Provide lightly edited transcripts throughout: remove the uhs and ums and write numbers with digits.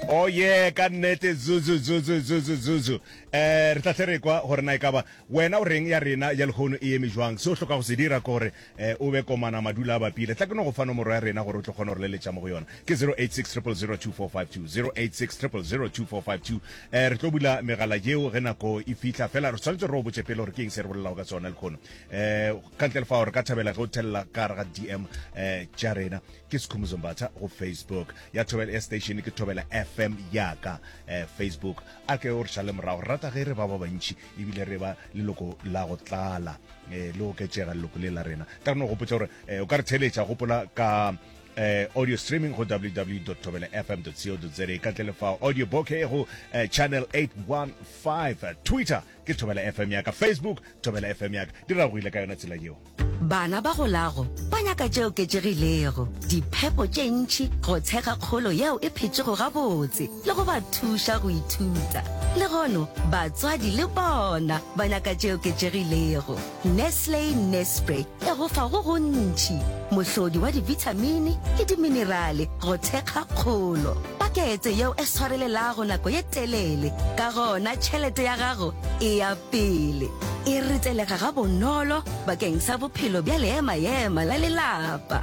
Oh yeah, ka nnete zuzu zuzu zuzu zuzu. Eh re tla tle re kwa gore na e ka ba wena o reng ya rena ya lehono e eme jwang. Se o hloka go se dira ke gore eh o be komana madula a bapile. Tla ke no go fa nomoro ya rena gore o tlo kgona go re leletša mo go yona. Ke 086 000 2452 086 000 2452. Eh re tlo bula megala yeo ge nako e fihla fela re tshwanetse re o botše pele gore ke eng se re bolelago ka sona lehono. Eh ka ntle le fao re ka thabela ge o thelela ka gare ga DM eh tša rena. Ke Skhumbuzo Mbatha go Facebook. Ya Thobela ya station ke Thobela FM yaka eh, Facebook. A ke o re šale morago. Re rata ge re ba ba bantši ebile re ba leloko la go tlala eh, le oketšega leloko le la rena. Tla re no gopotša gore eh, o ka re theletša gopola ka eh, audio streaming go www.thobelafm.co.za ka ntle le fao audio bouquet go eh, channel 815 Twitter ke Thobela FM yaka Facebook Thobela FM yaka di ragogile ka yona tsela yeo. Bana ba golago ba nyaka tše oketšegilego, diphepo tše ntši go thekga kgolo yeo e phetšego gabotse le go ba thuša go ithuta. Lehono, batswadi le bona ba nyaka tše oketšegilego. Nestle Nespre e go fa go gontši, mohlodi wa dibithamini le diminerale go thekga kgolo. Pakete yeo e swarelelago nako ye telele, ka gona tšhelete ya gago e ya pele. E retelega gabonolo bakeng sa bophelo bja leema-ema la lelapa.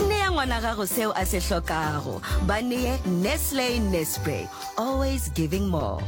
Nea ngwana gago seo a se hlokago. Ba nee Nestle Nespre, always giving more.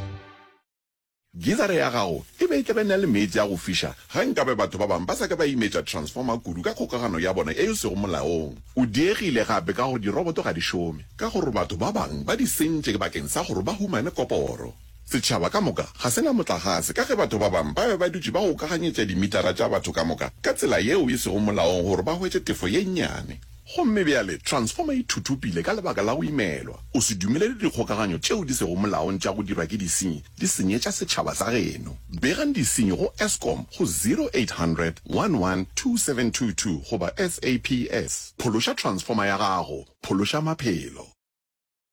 Gizara ya gago e be e tla be na le meetse a go fiša ge nkabe batho ba bangwe ba sa ka ba imetša transformer kudu ka kgokagano ya bona ye e sego molaong. O diegile gape ka gore diroboto ga di šome ka gore batho ba bangwe ba di sentše bakeng sa gore ba humane koporo. Setšhaba ka moka ga se na motlagase ka ge batho ba bangwe ba be ba dutše ba gokaganyetša dimitara tša batho ka moka ka tsela yeo e sego molaong gore ba hwetše tefo ye nnyane. Gomme bjale transformer e thuthupile ka lebaka la go imelwa. O se dumelele dikgokaganyo tšeo di sego molaong tša go dirwa ke disenyi di senyetša setšhaba sa geno. Begang disenyi go Eskom go 0800 11 2722 goba SAPS. Phološa transformer ya gago, phološa maphelo.